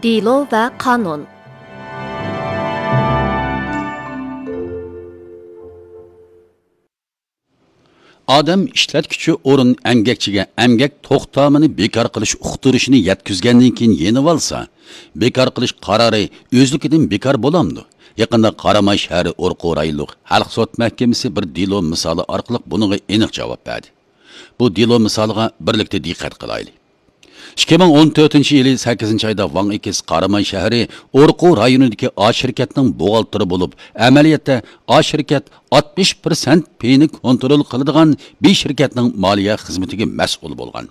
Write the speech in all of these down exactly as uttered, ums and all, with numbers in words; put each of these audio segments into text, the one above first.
دېلو ۋە قانۇن. ئادەم ئىشلەتكۈچى ئورۇن ئەمگەكچىگە ئەمگەك توختامىنى بىكار قىلىش ئۇقتۇرۇشىنى يەتكۈزگەندىن كېيىن يېنىۋالسا، بىكار قىلىش قارارى ئۆزلۈكىدىن بىكار بولامدۇ؟ يېقىندا قاراماي شەھىرى ئورقۇ رايونلۇق خەلق سوت مەھكىمىسى بىر دېلو مىسالى ئارقىلىق بۇنىڭغا ئېنىق جاۋاب بەردى. بۇ دېلو مىسالىغا بىرلىكتە دىققەت قىلايلى. ئىككى مىڭ ئون تۆتىنچى يىلى سەككىزىنچى ئايدا ۋاڭ ئېكىس قاراماي شەھىرى ئورقۇ رايونىدىكى ئا شىركەتنىڭ بوغالتىرى بولۇپ، ئەمەلىيەتتە ئا شىركەت ئاتمىش پىرسەنت پېيىنى كونترول قىلىدىغان بى شىركەتنىڭ مالىيە خىزمىتىگە مەسئۇل بولغان.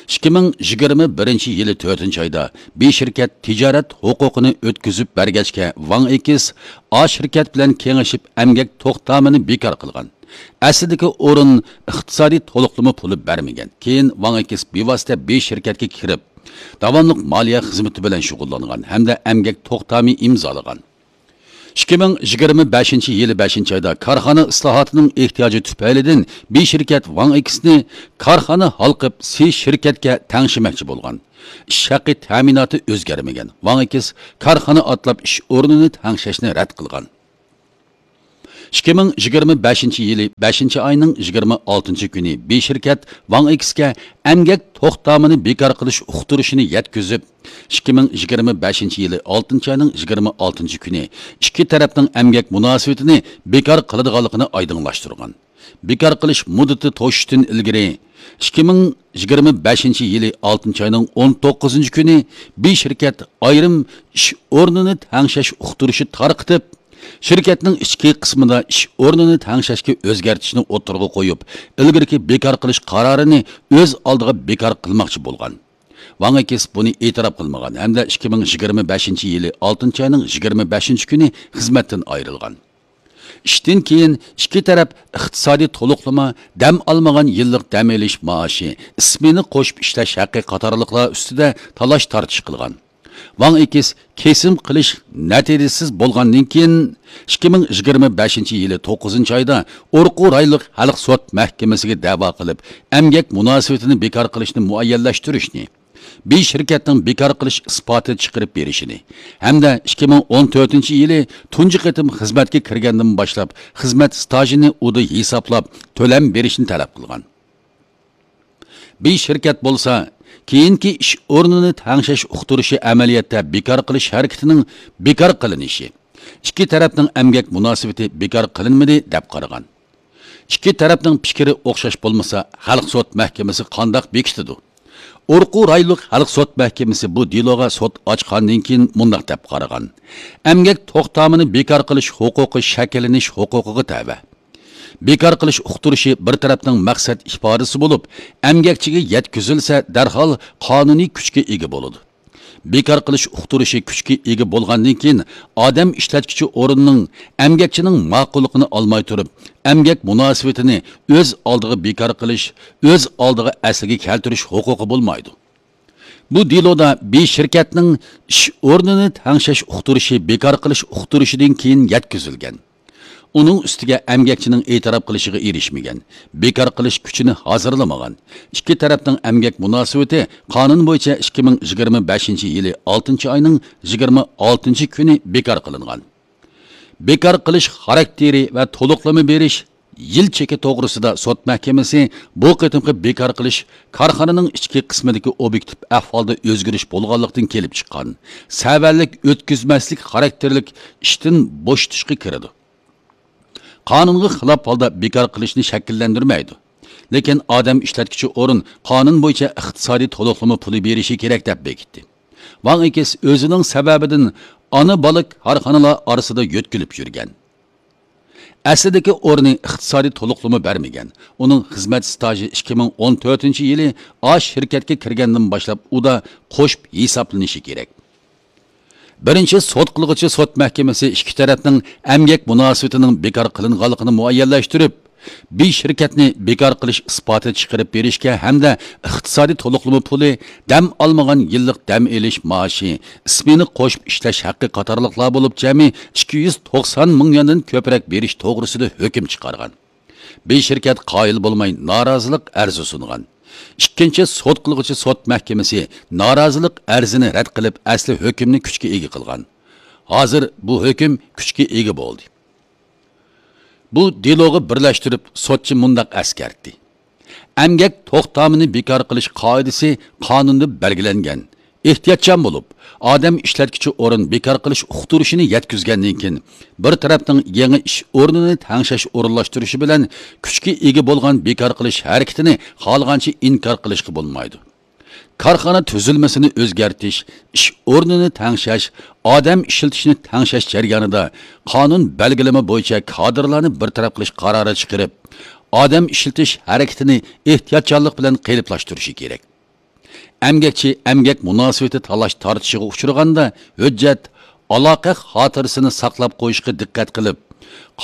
ئىككى مىڭ يىگىرمە بىرىنچى يىلى تۆتىنچى ئايدا بى شىركەت تىجارەت ھوقۇقىنى ئۆتكۈزۈپ بەرگەچكە، ۋاڭ ئېكىس ئا شىركەت بىلەن كېڭىشىپ ئەمگەك توختامىنى بىكار قىلغان. ئەسلىدىكى ئورۇن ئىقتىسادىي تولۇقلىما پۇلى بەرمىگەن. كېيىن ۋاڭ ئېكىس بىۋاسىتە بى شىركەتكە كىرىپ، داۋاملىق مالىيە خىزمىتى بىلەن شۇغۇللانغان ھەمدە ئەمگەك توختامى ئىمزالىغان. ئىككى مىڭ يىگىرمە بەشىنچى يىلى بەشىنچى ئايدا كارخانا ئىسلاھاتىنىڭ ئېھتىياجى تۈپەيلىدىن بى شىركەت ۋاڭ ئېكىسنى كارخانا ھالقىپ سى شىركەتكە تەڭشىمەكچى بولغان. ئىش ھەققى تەمىناتى ئۆزگەرمىگەن. ۋاڭ ئېكىس كارخانا ئاتلاپ ئىش ئورنىنى تەڭشەشنى رەت قىلغان. ئىككى مىڭ يىگىرمە بەشىنچى يىلى بەشىنچى ئاينىڭ يىگىرمە ئالتىنچى كۈنى بى شىركەت ۋاڭ ئېكىسكە ئەمگەك توختامىنى بىكار قىلىش ئۇقتۇرۇشىنى يەتكۈزۈپ، ئىككى مىڭ يىگىرمە بەشىنچى يىلى ئالتىنچى ئاينىڭ يىگىرمە ئالتىنچى كۈنى ئىككى تەرەپنىڭ ئەمگەك مۇناسىۋىتىنى بىكار قىلىدىغانلىقىنى ئايدىڭلاشتۇرغان. بىكار قىلىش مۇددىتى توشۇشتىن ئىلگىرى، ئىككى مىڭ يىگىرمە بەشىنچى يىلى ئالتىنچى ئاينىڭ ئون توققۇزىنچى كۈنى بى شىركەت ئايرىم ئىش ئورنىنى تەڭشەش ئۇقتۇرۇشى تارقىتىپ، شىركەتنىڭ ئىچكى قىسمىدا ئىش ئورنىنى تەڭشەشكە ئۆزگەرتىشنى ئوتتۇرىغا قويۇپ، ئىلگىرىكى بىكار قىلىش قارارىنى ئۆز ئالدىغا بىكار قىلماقچى بولغان. ۋاڭ ئېكىس بۇنى ئېتىراپ قىلمىغان ھەمدە ئىككى مىڭ يىگىرمە بەشىنچى يىلى ئالتىنچى ئاينىڭ يىگىرمە بەشىنچى كۈنى خىزمەتتىن ئايرىلغان. ئىشتىن كېيىن ئىككى تەرەپ ئىقتىسادىي تولۇقلىما، دەم ئالمىغان يىللىق دەم ئېلىش مائاشى، ئىسمېنا قوشۇپ ئىشلەش ھەققى قاتارلىقلار ئۈستىدە تالاش-تارتىش قىلغان. ۋاڭ ئېكىس كېسىم قىلىش نەتىجىسىز بولغاندىن كېيىن، ئىككى مىڭ يىگىرمە بەشىنچى يىلى توققۇزىنچى ئايدا ئورقۇ رايونلۇق خەلق سوت مەھكىمىسىگە دەۋا قىلىپ، ئەمگەك مۇناسىۋىتىنى بىكار قىلىشنى مۇئەييەنلەشتۈرۈشنى، بى شىركەتنىڭ بىكار قىلىش ئىسپاتى چىقىرىپ بېرىشىنى ھەمدە ئىككى مىڭ ئون تۆتىنچى يىلى تۇنجى قېتىم خىزمەتكە كىرگەندىن باشلاپ خىزمەت ئىستاژىنى ئۇدا ھېسابلاپ تۆلەم بېرىشنى تەلەپ قىلغان. بى شىركەت بولسا، كېيىنكى ئىش ئورنىنى تەڭشەش ئۇقتۇرۇشى ئەمەلىيەتتە بىكار قىلىش ھەرىكىتىنىڭ بىكار قىلىنىشى، ئىككى تەرەپنىڭ ئەمگەك مۇناسىۋىتى بىكار قىلىنمىدى، دەپ قارىغان. ئىككى تەرەپنىڭ پىكرى ئوخشاش بولمىسا، خەلق سوت مەھكىمىسى قانداق بېكىتىدۇ؟ ئورقۇ رايونلۇق خەلق سوت مەھكىمىسى بۇ دېلوغا سوت ئاچقاندىن كېيىن مۇنداق دەپ قارىغان: ئەمگەك توختامىنى بىكار قىلىش ھوقۇقى شەكىللىنىش ھوقۇقىغا تەۋە. بىكار قىلىش ئۇقتۇرۇشى بىر تەرەپنىڭ مەقسەت ئىپادىسى بولۇپ، ئەمگەكچىگە يەتكۈزۈلسە، دەرھال قانۇنىي كۈچكە ئىگە بولىدۇ. بىكار قىلىش ئۇقتۇرۇشى كۈچكە ئىگە بولغاندىن كېيىن، ئادەم ئىشلەتكۈچى ئورۇننىڭ ئەمگەكچىنىڭ ماقۇللۇقىنى ئالماي تۇرۇپ، ئەمگەك مۇناسىۋىتىنى ئۆز ئالدىغا بىكار قىلىش، ئۆز ئالدىغا ئەسلىگە كەلتۈرۈش ھوقۇقى بولمايدۇ. بۇ دېلودا بى شىركەتنىڭ ئىش ئورنىنى تەڭشەش ئۇقتۇرۇشى بىكار قىلىش ئۇقتۇرۇشىدىن كېيىن يەتكۈزۈلگەن. ئۇنىڭ ئۈستىگە ئەمگەكچىنىڭ ئېتىراپ قىلىشىغا ئېرىشمىگەن، بىكار قىلىش كۈچىنى ھازىرلىمىغان. ئىككى تەرەپنىڭ ئەمگەك مۇناسىۋىتى قانۇن بويىچە ئىككى مىڭ يىگىرمە بەشىنچى يىلى ئالتىنچى ئاينىڭ يىگىرمە ئالتىنچى كۈنى بىكار قىلىنغان. بىكار قىلىش خاراكتېرى ۋە تولۇقلىما بېرىش يىل چېكى توغرىسىدا سوت مەھكىمىسى بۇ قېتىمقى بىكار قىلىش كارخانىنىڭ ئىچكى قىسمىدىكى ئوبيېكتىپ ئەھۋالدا ئۆزگىرىش بولغانلىقتىن كېلىپ چىققان سەۋەنلىك ئۆتكۈزمەسلىك خاراكتېرلىك ئىشتىن بوشىتىشقا كىرىدۇ. قانۇنغا خىلاپ ھالدا بىكار قىلىشنى شەكىللەندۈرمەيدۇ. لېكىن ئادەم ئىشلەتكۈچى ئورۇن قانۇن بويىچە ئىقتىسادىي تولۇقلىما پۇلى بېرىشى كېرەك دەپ بېكىتتى. ۋاڭ ئېكىس ئۆزىنىڭ سەۋەبىدىن ئانا-بالا كارخانىلار ئارىسىدا يۆتكىلىپ يۈرگەن. ئەسلىدىكى ئورنى ئىقتىسادىي تولۇقلىما بەرمىگەن. ئۇنىڭ خىزمەت ئىستاژى ئىككى مىڭ ئون تۆتىنچى يىلى ئا شىركەتكە كىرگەندىن باشلاپ ئۇدا قوشۇپ ھېسابلىنىشى كېرەك. بىرىنچى سوت قىلغۇچى سوت مەھكىمىسى ئىككى تەرەپنىڭ ئەمگەك مۇناسىۋىتىنىڭ بىكار قىلىنغانلىقىنى مۇئەييەنلەشتۈرۈپ، بى شىركەتنى بىكار قىلىش ئىسپاتى چىقىرىپ بېرىشكە ھەمدە ئىقتىسادىي تولۇقلىما پۇلى، دەم ئالمىغان يىللىق دەم ئېلىش مائاشى، ئىسمېنا قوشۇپ ئىشلەش ھەققى قاتارلىقلار بولۇپ جەمئىي ئىككى يۈز توقسان مىڭ يۈەندىن كۆپرەك بېرىش توغرىسىدا ھۆكۈم چىقارغان. بى شىركەت قايىل بولماي نارازىلىق ئەرزى سۇنغان. ئىككىنچى سوت قىلغۇچى سوت مەھكىمىسى نارازىلىق ئەرزىنى رەت قىلىپ، ئەسلى ھۆكۈمنى كۈچكە ئىگە قىلغان. ھازىر بۇ ھۆكۈم كۈچكە ئىگە بولدى. بۇ دېلوغا بىرلەشتۈرۈپ، سوتچى مۇنداق ئەسكەرتتى: ئەمگەك توختامىنى بىكار قىلىش قائىدىسى قانۇندا بەلگىلەنگەن. ئېھتىياتچان بولۇپ، ئادەم ئىشلەتكۈچى ئورۇن بىكار قىلىش ئۇقتۇرۇشىنى يەتكۈزگەندىن كېيىن، بىر تەرەپنىڭ يېڭى ئىش ئورنىنى تەڭشەش ئورۇنلاشتۇرۇشى بىلەن كۈچكە ئىگە بولغان بىكار قىلىش ھەرىكىتىنى خالىغانچە ئىنكار قىلىشقا بولمايدۇ. كارخانا تۈزۈلمىسىنى ئۆزگەرتىش، ئىش ئورنىنى تەڭشەش، ئادەم ئىشلىتىشنى تەڭشەش جەريانىدا قانۇن بەلگىلىمە بويىچە كادىرلارنى بىر تەرەپ قىلىش قارارى چىقىرىپ، ئادەم ئىشلىتىش ھەرىكىتىنى ئېھتىياتچانلىق بىلەن قېلىپلاشتۇرۇشى كېرەك. ئەمگەكچى ئەمگەك مۇناسىۋىتى تالاش-تارتىشىغا ئۇچرىغاندا، ھۆججەت، ئالاقە خاتىرىسىنى ساقلاپ قويۇشقا دىققەت قىلىپ،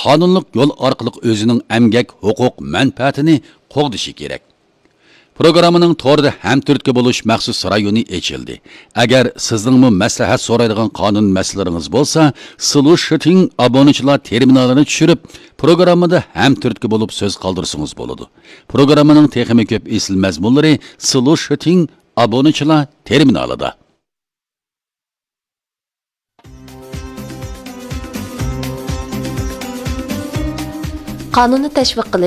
قانۇنلۇق يول ئارقىلىق ئۆزىنىڭ ئەمگەك ھوقۇق مەنپەئەتىنى قوغدىشى كېرەك. پروگراممىنىڭ توردا ھەمتۈرتكە بولۇش مەخسۇس رايونى ئېچىلدى. ئەگەر سىزنىڭمۇ مەسلىھەت سورايدىغان قانۇن مەسىلىلىرىڭىز بولسا، سلۇشىتىڭ ئابۇنىچىلار تېرمىنالىنى چۈشۈرۈپ، پروگراممىدا ھەمتۈرتكە بولۇپ سۆز قالدۇرسىڭىز بولىدۇ. پروگراممىنىڭ تېخىمۇ كۆپ ئېسىل مەزمۇنلىرى سلۇشىتىڭ ئابۇنىچىلار تېرمىنالىدا. قانۇننى تەشۋىق قىلىش.